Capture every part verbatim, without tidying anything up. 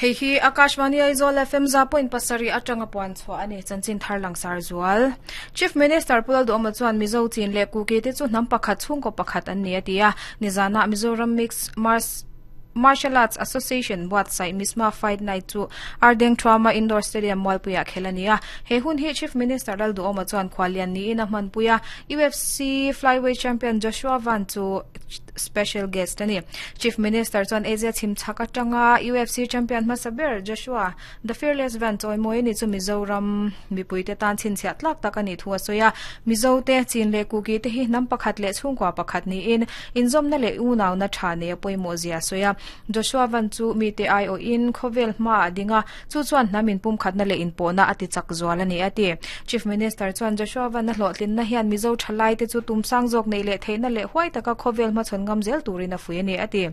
Hei hi Akashvani Aizawl F M za point pasarih atanga puan chhuah ani chanchin thar langsar zual. Chief Minister Pu Lalduhoma chuan Mizo Chin leh Kuki te chu hnam pakhat chhungkaw pakhat an ni a ti a. Nizana Mizoram Mixed Mars Martial Arts Association buatsaih Misma Fight Night chu Ardeng Thuama Indoor Stadium Mualpuiah khel a ni a. He hun hi Chief Minister Lalduhoma chuan khualian niin a hmanpui a. U F C Flyweight Champion Joshua Van chu special guest ani. Chief Minister chuan Asia chhimchhak atanga U F C Champion hmasa ber Joshua The Fearless Van chawi mawi ani chu Mizoram mipuite tan chhinchhiah tlak tak ani thu a sawi a. Mizo te Chin leh Kuki te hi hnam pakhat leh chhungkua pakhat niin inzawmna leh unauna tha nei a pawimawh zia a sawi a. Joshua Van chu mi te ai aw in khawvel hma a dinga chu chuan hnam in pum khatna leh inpawhna a ti chak zual ani a ti. Chief Minister chuan Joshua Van a hlawhtlinna hian Mizo thalai te chu tumsang zawk nei leh theihna leh huai taka khawvel hmachhawn ngam zel turin a fui ani a ti.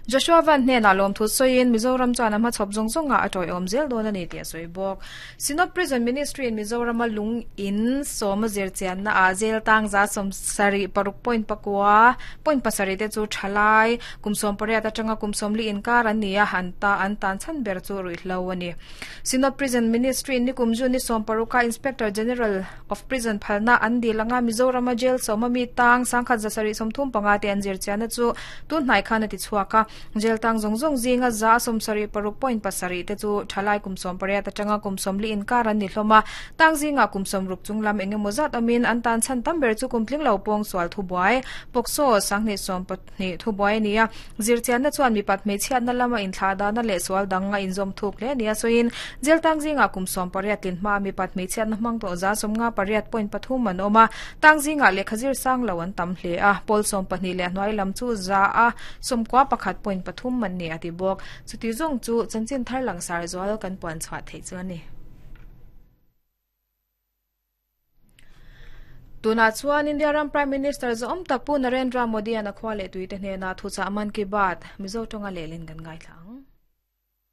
Joshua Van hnenah lawm thu sawiin Mizoram chuan a hmachhawp zawng zawnga a tawiawm zel dawn ani tih a sawi bawk. Synod Prison Ministry in Mizoram a lung in sawm a zir chianna ah zel tang za sawm sarih paruk point pakua point pasarih te chu thalai kum sawm pariat atanga kum sawm li inkar an ni a an ta an tan chhan ber chu ruihhlo ani. Synod Prison Ministry in nikum June ni sawm paruka Inspector General of Prison phalna an dilanga Mizoram a jail sawm ami tang sangkhat za sarih sawmthum panga te an zir chianna chu tun hnai khan a ti chhuak a. Jail tang zawng zawng zinga za sawm sarih paruk point pasarih te chu thalai kum sawm pariat atanga kum sawm li inkar an ni hlawm a. Tang zinga kum sawm ruk chunglam engemaw zat awmin an tan chhan tam ber chu kum tling lo pawng sual thu buai pawksaw sanghnih sawm pahnih thu buai ani a. Zir chianna chuan mipat hmeichhiatna lama inthlah dana leh sual dang a inzawm thuk hle ani a sawiin jail tang zinga kum sawm pariat tlin hma mipat hmeichhiatna hmang tawh za sawmnga pariat point pathum an awm a. Tang zinga lehkha zir sang lo an tam hle a. Pawl sawm pahnih leh hnuai lam chu za a sawmkua pakhat point pathum man ni a ti bawk. Chuti zawng chu chanchin thar langsar zual kan puan chhuah theih chu ani. Tuna chuan India ram Prime Minister zawm tak Pu Narendra Modi an a khua leh tuite hnena thuchah Man Ki Baat Mizo tonga lehlin kan ngai thlang.